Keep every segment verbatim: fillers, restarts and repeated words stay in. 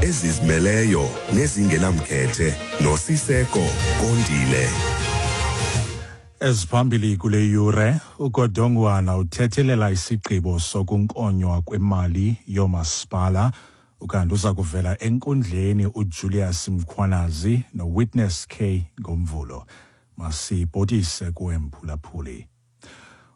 Ezizimeleyo nezingenamkhethe noSiseko Kondile. Eziphambili kule yure, uGodongwana uthethelela isigqibo sokunkonywa kwemali yoomasipala, ukanti uza kuvela enkundleni uJulius Mkhwanazi noWitness K ngoMvulo. Masibhotise kuwe, mphulaphuli.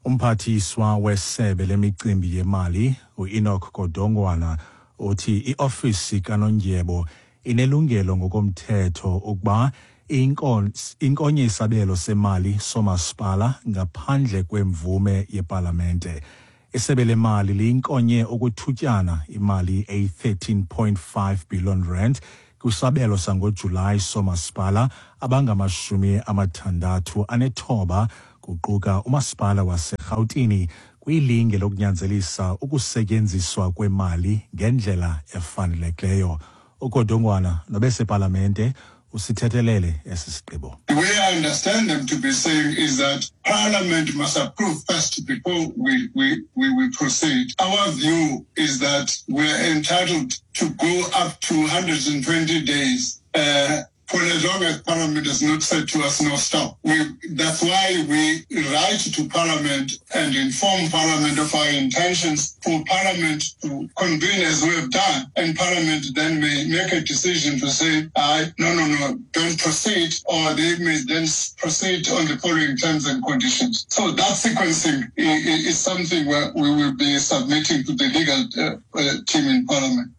Umphathiswa wesebe lemicimbi yemali uEnoch Godongwana uthi iofisi kaNondyebo inelungelo ngokomthetho ukuba inkonye isabelo semali somasipala ngaphandle kwemvume yepalamente. Isebe lemali liyinkonye okwethutyana imali eyi-thirteen point five billion rand kwisabelo sangoJulayi somasipala abangamashumi amathandathu anethoba, kuquka umasipala waseRhawutini, kwilinge lokunyanzelisa ukusetyenziswa kwemali ngendlela efanelekileyo. UGodongwana nobesepalamente usithethelele esi sigqibo. The way I understand them to be saying is that Parliament must approve first before we, we, we, we proceed. Our view is that we are entitled to go up to one hundred twenty days uh, for as long as Parliament has not said to us, "No, stop." We, that's why we write to Parliament and inform Parliament of our intentions for Parliament to convene as we have done. And Parliament then may make a decision to say, I, no, no, no, don't proceed, or they may then proceed on the following terms and conditions. So that sequencing is, is something where we will be submitting to the legal uh, uh, team in Parliament.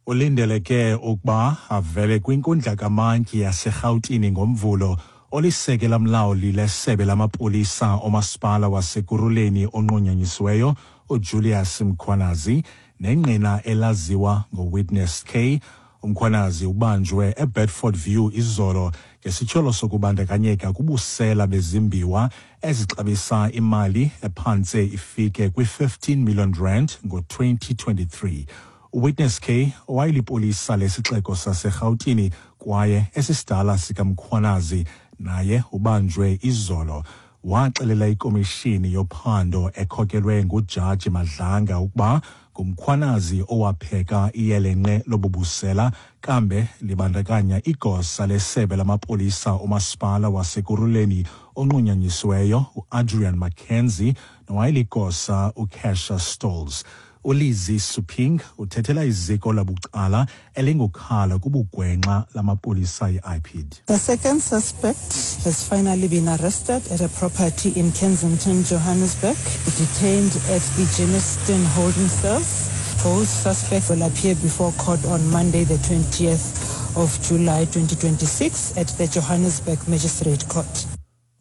Ulindeleke ukuba avele kwinkundla kamantyi yaseRhawutini ngoMvulo olisekela mlawuli lesebe lamapolisa omasipala waseKurhuleni onqunyanyisiweyo uJulius Mkhwanazi nengqina elaziwa ngoWitness K. UMkhwanazi ubanjwe eBedford View izolo ngesityholo sokubandakanyeka kubusela bezimbiwa ezixabisa imali ephantse ifike kwi-fifteen million rand ngo-twenty twenty-three. UWitness K, owayelipolisa lesixeko saseRhawutini kwaye esisidala sikaMkhwanazi, naye ubanjwe izolo. Waxelela ikomishini yophando ekhokelwe nguJaji Madlanga ukuba nguMkhwanazi owapheka iyelenqe lobubusela, kambe libandakanya igosa lesebe lamapolisa omasipala waseKurhuleni onqunyanyisiweyo uAdrian McKenzie nowayeligosa uKesha Stolz. ULizzie Suping uthethela iziko labucala elingukhala kubugwenxa lamapolisa, i-I P I D. The second suspect has finally been arrested at a property in Kensington, Johannesburg, detained at the Germiston holding cells. Both suspects will appear before court on Monday, the twentieth of July twenty twenty-six at the Johannesburg Magistrate Court.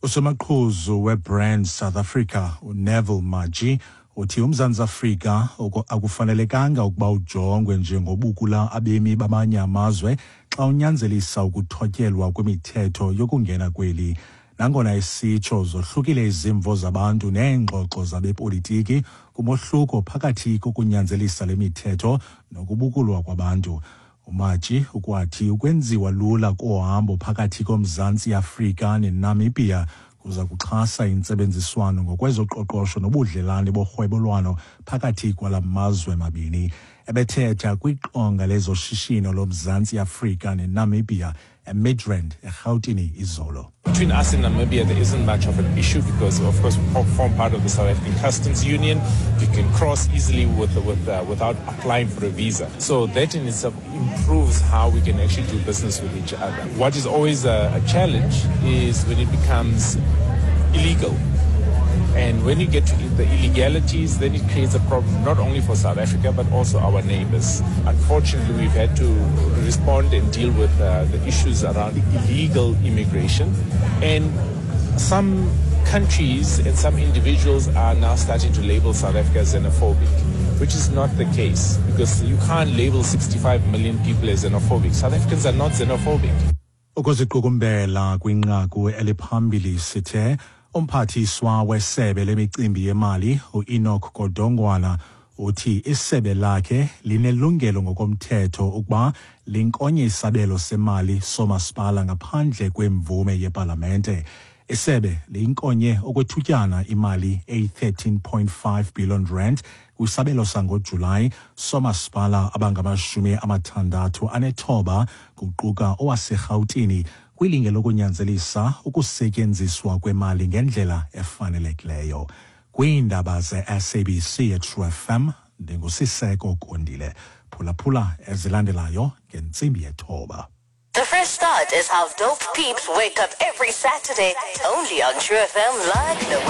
Usomaqhuzu weBrand South Africa uNeville Matjie uthi uMzantsi Afrika akufanelekanga ukuba ujongwe njengobukula abemi bamanye amazwe xa unyanzelisa ukuthotyelwa kwemithetho yokungena kweli. Nangona esitsho, zohlukile izimvo zabantu neengxoxo zabepolitiki kumohluko phakathi kokunyanzelisa le mithetho nokubukulwa kwabantu. UMatjie ukwathi ukwenziwa lula kohambo phakathi koMzantsi Afrika neNamibia kuza kuxhasa intsebenziswano ngokwezoqoqosho nobudlelane borhwebelwano phakathi kwala mazwe mabini. Ebethetha kwiqonga lezoshishino loMzantsi Afrika neNamibia eMidrand, eRhawutini, izolo. Between us and Namibia, there isn't much of an issue because, of course, we form part of the South African Customs Union. You can cross easily with, with, uh, without applying for a visa. So that in itself improves how we can actually do business with each other. What is always a, a challenge is when it becomes illegal. And when you get to the illegalities, then it creates a problem not only for South Africa, but also our neighbors. Unfortunately, we've had to respond and deal with uh, the issues around illegal immigration. And some countries and some individuals are now starting to label South Africa as xenophobic, which is not the case, because you can't label sixty-five million people as xenophobic. South Africans are not xenophobic. Ukuziqukumbela kwinqaku eliphambili, sithe umphathiswa wesebe lemicimbi yemali uEnoch Godongwana uthi isebe lakhe linelungelo ngokomthetho ukuba linkonye isabelo semali somasipala ngaphandle kwemvume yepalamente. Isebe liyinkonye okwethutyana imali eyi-thirteen point five billion rand kwisabelo sangoJulayi somasipala abangamashumi amathandathu anethoba, kuquka owaseRhawutini, kwilinge lokunyanzelisa ukusetyenziswa kwemali ngendlela efanelekileyo. Kwiindaba ze-S A B C eTrue F M, ndinguSiseko Kondile. Phulaphula ezilandelayo ngentsimbi yethoba. The Fresh Start is how dope peeps wake up every Saturday, only on True F M like no one